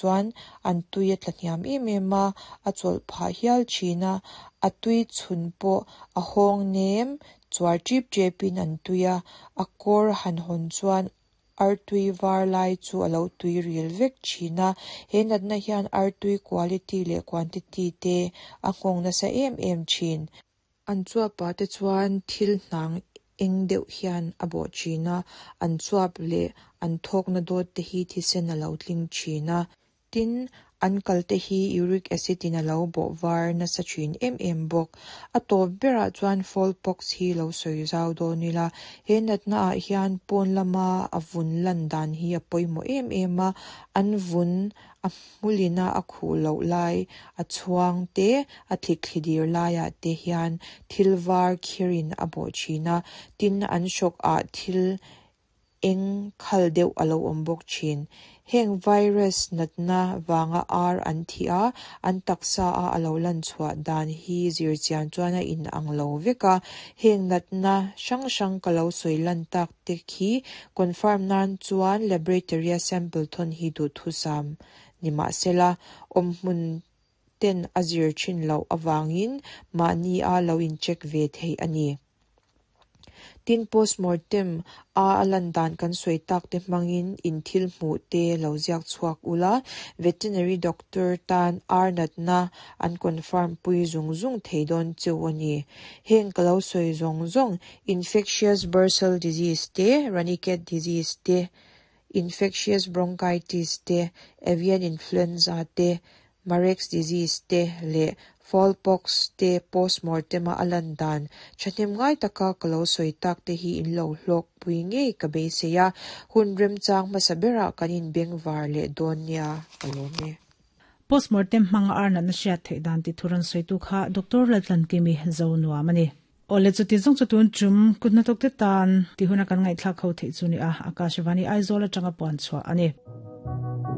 Chuan an tui a tla hniam em em a, a chawlh phah hial thin a, a tui chhun pawh a hawng nem chuar tip tepin an tui a, a kawr han hawn chuan artui var lai chu a lo tui ril vek thin a, he natna hian artui quality leh quantity te a nghawng nasa em em thin. An chuapah te chuan thil hnang eng deuh hian a bawh thin a, an chuap leh an thawkna dawt te hi thisen a lo tling thin a. Tin, an kal te hi uric acid in a lo bawh var nasa thin em em bawk. A tawp berah chuan fowl pox hi lo sawi zau dawn ila, he natna ah hian pawn lama a vun lan dan hi a pawimawh em em a, an vun a hmulina a khuh loh lai, a chhuang te, a thlikthli dir laiah te hian thil var khirin a bawh thin a, tin an hrawk ah thil eng khal deuh a lo awm bawk thin. Heng virus natna vanga ar an thih a, an taksa a a lo lan chhuah dan hi zir chian chuan a in ang lo vek a, heng natna hrang hrang ka lo sawi lan tak te khi confirm nan chuan laboratory a sample thawn hi duhthusam ni mahsela awmhmun ten a zir thin loh avangin mahni a lo in check ve theih a ni. Tin postmortem a a lan dan kan sawi tak te hmangin in thil hmuh te lo ziak chhuak ula, veterinary doctor tan ar natna an confirm pui zung zung thei dawn cheu a ni. Heng ka lo sawi zawng zawng infectious bursal disease te, Ranikhet disease te, infectious bronchitis te, avian influenza te, Marek's disease te leh fowl pox te postmortem a a lan dan thahnem ngai taka ka lo sawi tak te hi in lo hlawk pui ngei ka beisei a, hun remchang hmasa berah kan inbengvar leh dawn nia ka lawm e. Postmortem hmanga ar natna hriat theih dan tih thu rawn sawitu kha Doctor Laltlankimi zo nuam a ni. Awle chuti zawng chu tun tum kut hnathawkte tan tih huna kan ngaihthlak ho theih chu ni a, Akashvani Aizawl atanga puan chhuah a ni.